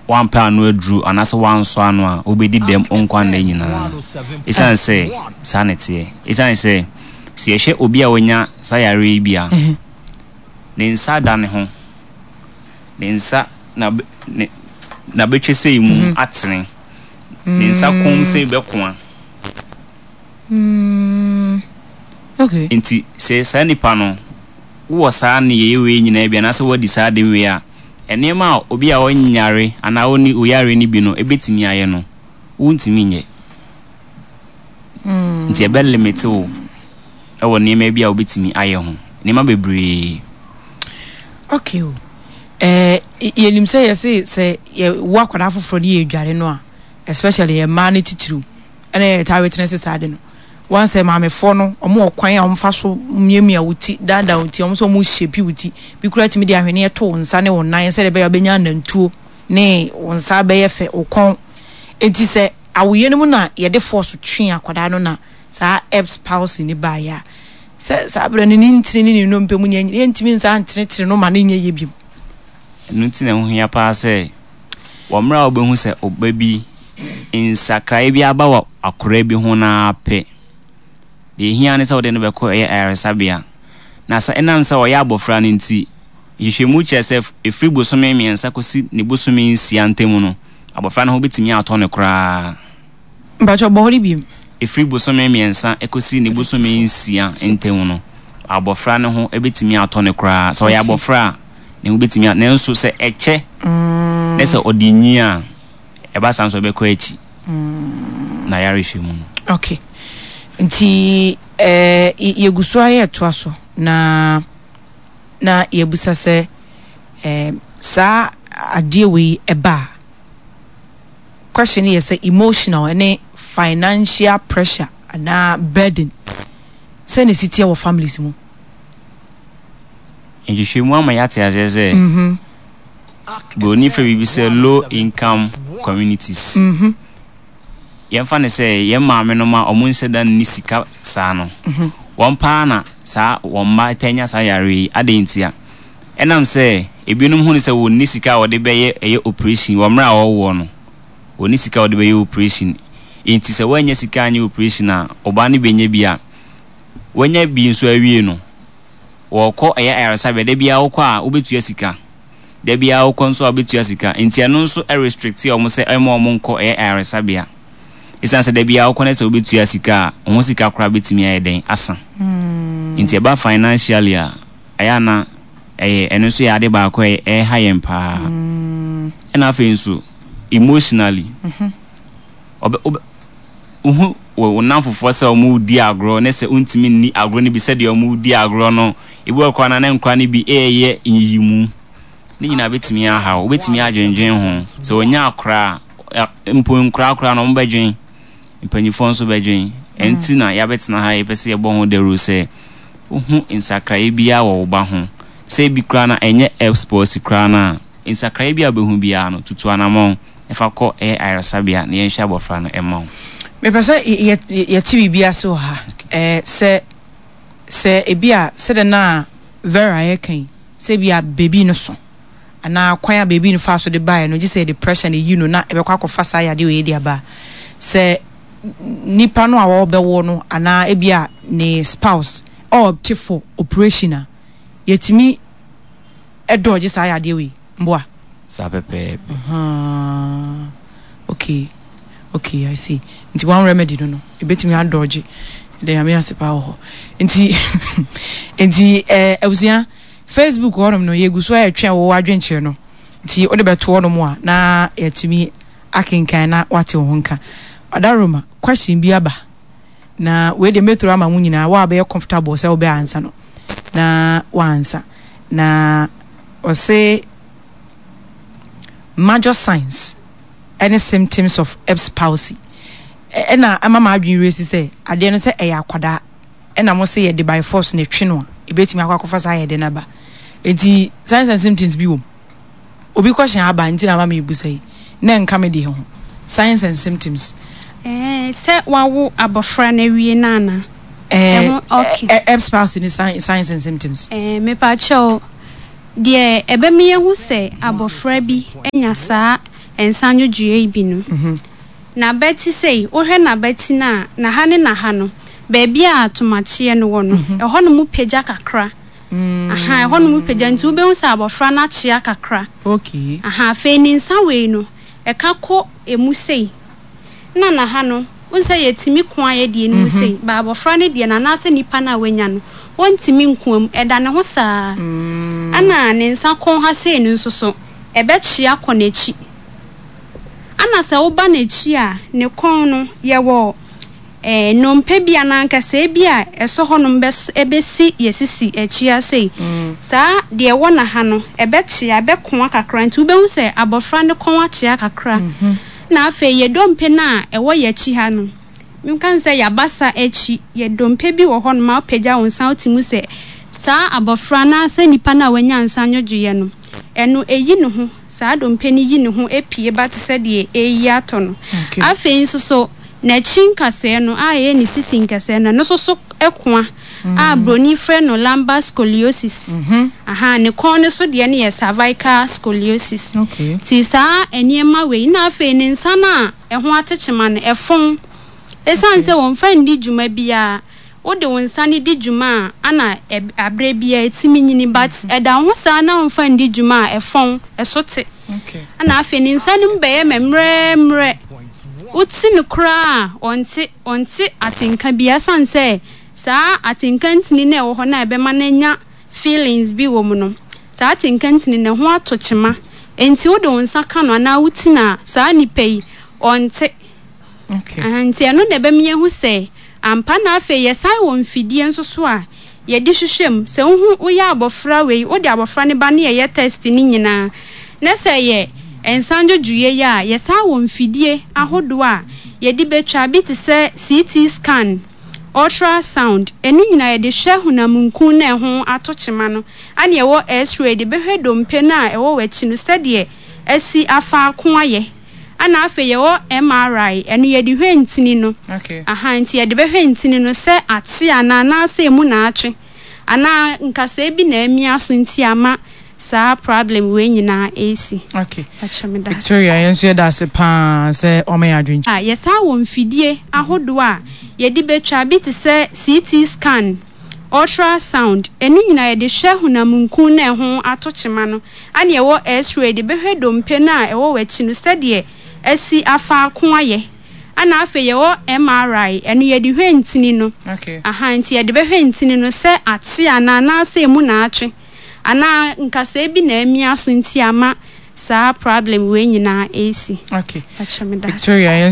woampɛ ano aduru anaasɛ woansɔ ano a, wobɛdi dɛm wo nkwa nna nyinaa. Ɛsiane sɛ saa na ɛteɛ. Ɛsiane sɛ, sɛ yɛhwɛ obi a wanya saa yareɛ yi bi a, ne nsa da ne ho, ne nsa na ne n'abɛtwa sei mu mhm. atene, ne nsa kɔn sei bɛkoa. Mm. Okay. Nti sɛ saa nipa no wowɔ saa nneyɛeɛ wei nyinaa bi anaasɛ woadi saa ade wei a, nneɛma a obi a ɔnyare anaa ɔnni oyareɛ no bi no bɛtumi ayɛ no, wontumi nyɛ. Nti ɛbɛ limit wo wɔ nneɛma bi a wobɛtumi ayɛ ho. Nneɛma bebree. Okay o. Eh, yɛnim sɛ yɛse sɛ yɛwo akwadaa foforɔ ne yɛdware no a, especially yɛ mmaa no titiriw, ɛna yɛtaa witness saa ade no. Wɔn sɛ maamefoɔ no, wɔn wɔ kwan a wɔfa so miamia wo ti, daadaa wo ti, wɔn nso wɔn shape wo ti. Bi koraa tumi de ahweneɛ to wo nsa ne wo nan sɛdeɛ ɛbɛyɛ a wobɛnya anantuo ne wo nsa bɛyɛ fɛ, wo kɔn. Enti sɛ awoyɛ no mu na yɛde force twe akwadaa no na saa Erb's palsy no baeɛ a, sɛ saa berɛ no ne ntini ne ne nnompe mu nyɛ yɛntumi nsa ntenetene no ma no nyɛ yie bio. Ɛno nti na ɛho hia paa sɛ wɔ mmerɛ a wobɛhu sɛ ɔba bi nsakraeɛ bi aba wɔ akwadaa bi ho no ara pɛ, deɛ ɛhia ne sɛ wode no bɛkɔ ɛyɛ ayaresabea. Na sɛ ɛnam sɛ ɔyɛ abɔfra no nti, nhwehwɛmu kyerɛ sɛ ɛfiri bosome mmiɛnsa kɔsi ne bosome nsia ntam no, abɔfra no ho bɛtumi atɔ no koraa. Mpakyɛw bɔ hɔ no biom. Ɛfiri bosome mmiɛnsa kɔsi ne bosome nsia ntam no, abɔfra no ho bɛtumi atɔ no koraa. Sɛ ɔyɛ abɔfra a, ne ho bɛtumi a, nanso sɛ ɛkyɛ na sɛ ɔde nyin a, ɛba saa nso ɛbɛkɔ akyi na yarehwɛ mu no. Okay. Nti eh, yɛgu so ara yɛtoa so na na yɛbusa sɛ eh, saa adeɛ wei ɛba a, question no yɛ sɛ emotional ne financial pressure anaa burden sɛ na ɛsi teɛ wɔ families mu. Nhwehwɛmu ama yɛate aseɛ sɛ Buroni frɛ biribi sɛ low income communities. Yɛmfa no sɛ yɛn maamenom a wɔnhyɛ da nni sika saa no, wɔn paa na saa wɔn mma taa nya saa yareɛ yi. Adɛn ntia? Ɛnam sɛ ebinom hu no sɛ wɔnni sika a wɔde bɛyɛ ɛyɛ operation wɔ mmerɛ a wɔrewoɔ no, wɔnni sika a wɔde bɛyɛ operation. Enti sɛ woannya sika anyɛ operation a, wo ba no bɛnya bi a, wanya bi nso awie no, wɔkɔ ɛyɛ ayaresabea, da biara wokɔ a wobɛtua sika. Da biara wokɔ nso a wobɛtua sika. Nti ɛno nso restricte wɔn sɛ ɛmma wɔn nkɔ ɛyɛ ayaresabea. Ɛsiane sɛ da biara wokɔ na sɛ wobɛtua sika a, wo ho sika koraa bɛtumi ayɛ dɛn asa. Nti ɛba financially a, ɛyɛ a na ɛyɛ ɛno nso yɛ ade baako a ɛha yɛn paa. Ɛna afei nso emotionally, ɔbɛ wobɛ wohu wo wo nnamfofoɔ sɛ wɔredi agorɔ ne sɛ wontumi nni agorɔ no bi sɛdeɛ wɔredi agorɔ no. Ebi wɔ hɔ koraa no a na nkwadaa no bi reyɛ nyiyimu. Ne nyinaa bɛtumi aha wo. Wobɛtumi adwendwen ho. Sɛ wɔnya akora a, mpo nkoraa koraa no wɔbɛdwen. Mpanimfoɔ nso bɛdwen. Ɛno nti na yɛabɛtena ha yɛpɛ sɛ yɛbɔ ho dawuro sɛ wohu nsakraeɛ biara wɔ wo ba ho. Sɛ ebi koraa no a ɛnyɛ Erb's palsy koraa no a, nsakraeɛ biara a wobɛhu biara no, tutu anammɔn. Fa kɔ ɛyɛ ayaresabea na yɛnhwɛ abɔfra no mma wo. Mepɛ sɛ yɛte biribi ase wɔ ha. Ɛɛ, sɛ, sɛ ebi a, sɛdeɛ na Vera reka yi, sɛ ebi a beebi no so, anaa kwan a beebi no faa so de baeɛ no, gye sɛ yɛde pressure na eyi no na ɛbɛkɔ akɔfa saa yadeɛ wei de aba a, sɛ nipa no a ɔrebɛwo no anaa ebi a ne spouse ɔɔpte for operation a, yɛtumi dɔɔgye saa yadeɛ wei. Mboa. Saa pɛpɛɛpɛ. Ahaa okay okay I see nti one remedy no no ebetumi adɔgye ɛdɛ nyame ase paa wɔ hɔ nti nti ɛɛ eh, abusua Facebook hɔnom no yɛgu so a yɛtwɛn wo adwenkyerɛ no nti wode bɛto hɔnom a na yɛatumi akenkan na wate wo ho nka ɔdaroma question bi aba na wei deɛ mɛthrow ama mo nyinaa wo a bɛyɛ comfortable sɛ wobɛ ansa no na wansa na ɔse major signs ɛne symptoms of Erb's palsy ɛna ama m'adwene werɛ si sɛ adeɛ no sɛ ɛyɛ akwadaa ɛna mo se yɛde by force na ɛtwe no a ɛbɛtumi akɔ akɔfa saa yɛde no aba nti signs and symptoms bi wɔ mu Obi question aba nti na ama mebusa yi na ɛnka me deɛ ho. Signs and symptoms. Ɛɛ sɛ wawo abɔfra no awie no ana? Ɛɛ ɛho okay. Erb's palsy ne signs and symptoms. Ɛɛ mepakyɛw deɛ ɛbɛma yɛahu sɛ abɔfra bi anya saa. nsa nwodwoeɛ yi bi no. N'abati sei, wohwɛ n'abati no a, n'aha ne n'aha no, baabi a tomakyeɛ no wɔ no, ɛhɔnom pagya kakra. Aha, ɛhɔnom pagya nti wobɛhu sɛ abɔfra no akyea kakra. Okay. Aha, afei ne nsa wei no, ɛka kɔ emu sei. Nna na ha no, wohu sɛ yɛtumi koa yɛ deɛ no mu sei, but abɔfra no deɛ no anaasɛ nipa no a wanya no, ɔntumi nkoa mu, ɛda ne ho saa. Ɛna ne nsa kɔn ha sei no nso so, ɛbɛkyea kɔ n'akyi. Ɛna sɛ woba n'akyi a, ne kɔn no, yɛwɔ eh, nnompe bi anaa nkasɛɛ bi a ɛsɔ hɔnom bɛs ɛbɛsi yɛ sisi akyi ha sei. Saa deɛ ɛwɔ na ha no, ɛbɛkyea, ɛbɛkoa kakra, nti wobɛhu sɛ abɔfra no kɔn akyea kakra. Na afei yɛ dompe no a ɛwɔ yɛ akyi ha no, menka no sɛ y'abasa akyi, yɛ dompe bi wɔ hɔnom a wopagya wo nsa a wote mu sɛ saa abɔfra anaasɛ nipa no a wanya nsa nwodwoeɛ no, ɛno ɛyi ne ho, saa dompe no yi ne ho pue ba te sɛ deɛ ɛreyi atɔ no. Afei nso so n'akyi nkasɛɛ no a ɛyɛ ne sisi nkasɛɛ no, ɛno nso so koa a broni frɛ no lumbar scoliosis. Aha, ne kɔn no so deɛ no yɛ cervical scoliosis. Nti saa nneɛma wei, na afei ne nsa no a ɛho atekyema no, ɛfɔn. Ɛsiane sɛ wɔmfa nni dwuma biara, wode wo nsa no di dwuma a, ana aberɛ biara ɛtumi nyini, but ɛda wo ho saa na womfa nni dwuma a, ɛfɔn, ɛso te. Ɛna afei ne nsa no mu bɛyɛ mɛmmerɛmmerɛ. Wote no koraa a, ɔnte. Ɔnte atenka biara ɛsiane sɛ saa atenka ntini no a ɛwɔ hɔ no a ɛbɛma no anya feelings bi wɔ mu no, saa atenka ntini no ɛho ato kyema. Enti wode wo nsa ka no anaa woti no a, saa nipa yi, ɔnte. Aha, nti ɛno na ɛbɛma yɛahu sɛ ampa na afei yɛsan wɔ mfidie nso so a yɛde hwehwɛ mu. Sɛ wohu woyɛ abɔfra wei, wode abɔfra no ba ne yɛyɛ test no nyinaa, na sɛ ɛyɛ nsa ndwodwoeɛ yi a, yɛsan wɔ mfidie ahodoɔ a yɛde bɛtwa, bi te sɛ CT scan, ultra sound, ɛno nyinaa yɛde hwɛ honam nkun no a ɛho ato kyema no, ɛna yɛwɔ x-ray de bɛhwɛ dompe no a ɛwɔ w'akyi no sɛdeɛ asi afa ako ayɛ. Ɛna afei yɛwɔ MRI, ɛno yɛde hwɛ ntini no. Aha, nti yɛde bɛhwɛ ntini no sɛ ate anaa anaasɛ emu na atwe anaa nkasɛɛ bi na amia so nti ama saa problem wei nyinaa ɛresi. Okay. Pakyɛ meda ase. Victoria, yɛn nso yɛda ase paa sɛ wama yɛn adwenkyerɛ. A yɛsan wɔ mfidie ahodoɔ a yɛde bɛtwa, bi te sɛ CT scan, ultra sound, ɛno nyinaa yɛde hwɛ honam nkun no a ɛho ato kyema no. Ɛna ɛwɔ X-ray de bɛhwɛ dompe no a ɛwɔ w'akyi no sɛdeɛ asi afa ako ayɛ. Ɛna afei yɛwɔ MRI, ɛno yɛde hwɛ ntini no. Aha, nti yɛde bɛhwɛ ntini no sɛ ate anaa anaasɛ emu na atwe anaa nkasɛɛ bi na amia so nti ama saa problem wei nyinaa ɛresi. Okay. Pakyɛ meda ase. Victoria, yɛn.